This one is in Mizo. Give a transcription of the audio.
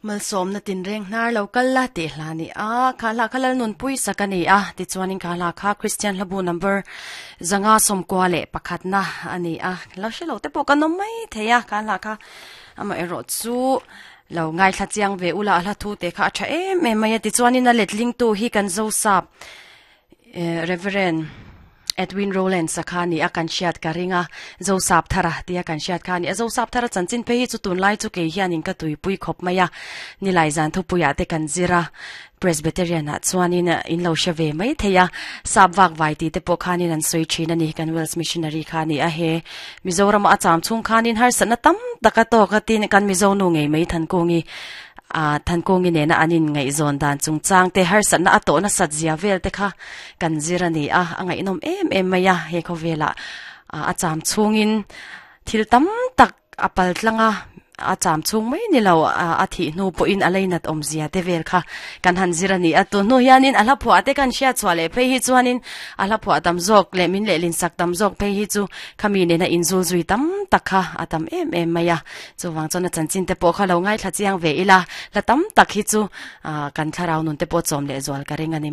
Malsawmna tinreng hnar lo kal la tih hla a ni a, kha hla kha Lalnunpui sak a ni a, tichuanin kha hla kha Kristian hlabu number 521 na a ni a, lo hre lo te pawh kan awm mai thei a, kha hla kha amaherawh chu lo ngaithla chiang ve ula a hla thu te kha a tha em em mai a, tichuanin a letlingtu hi kan Zosap Reverend Edwin Rowlands a kha ni a kan hriat ka ring a, Zosap Thara tia kan hriat kha a ni a. Zosap Thara chanchin phei hi chu tunlai chu kei hianin ka tuipui khawp mai a, nilai zan thupuiah te kan zir a, Presbyterian ah chuanin in lo hre ve mai thei a, sap vak vai tih te pawh khanin an sawi thin a ni, kan Welsh Missionary kha a ni a, he Mizoram a cham chhung khanin harsatna tam tak a tawk a tin kan Mizo nu ngei mai Thankungi A Thankungi nena an inngaihzawn dan chungchang te, harsatna a tawh nasat zia vel te kha kan zir a ni a, a ngaihnawm em em mai a, he khawvelah a cham chhungin thil tam tak a pal tlang a, a cham chhung mai ni lo a thih hnu pawhin a leinat awmzia te vel kha kan han zir a ni a, tun hnu hianin a hla phuah te kan hriat chhuah leh phei hi chuanin a hla phuah tam zawk leh min lehlin sak tam zawk phei hi chu khami nena inzul zui tam tak kha a tam em em mai a. Chuvang chuan a chanchin te pawh kha lo ngaithla chiang ve ila, hla tam tak hi chu kan thlarau nun te pawh chawm leh zual ka ring a ni.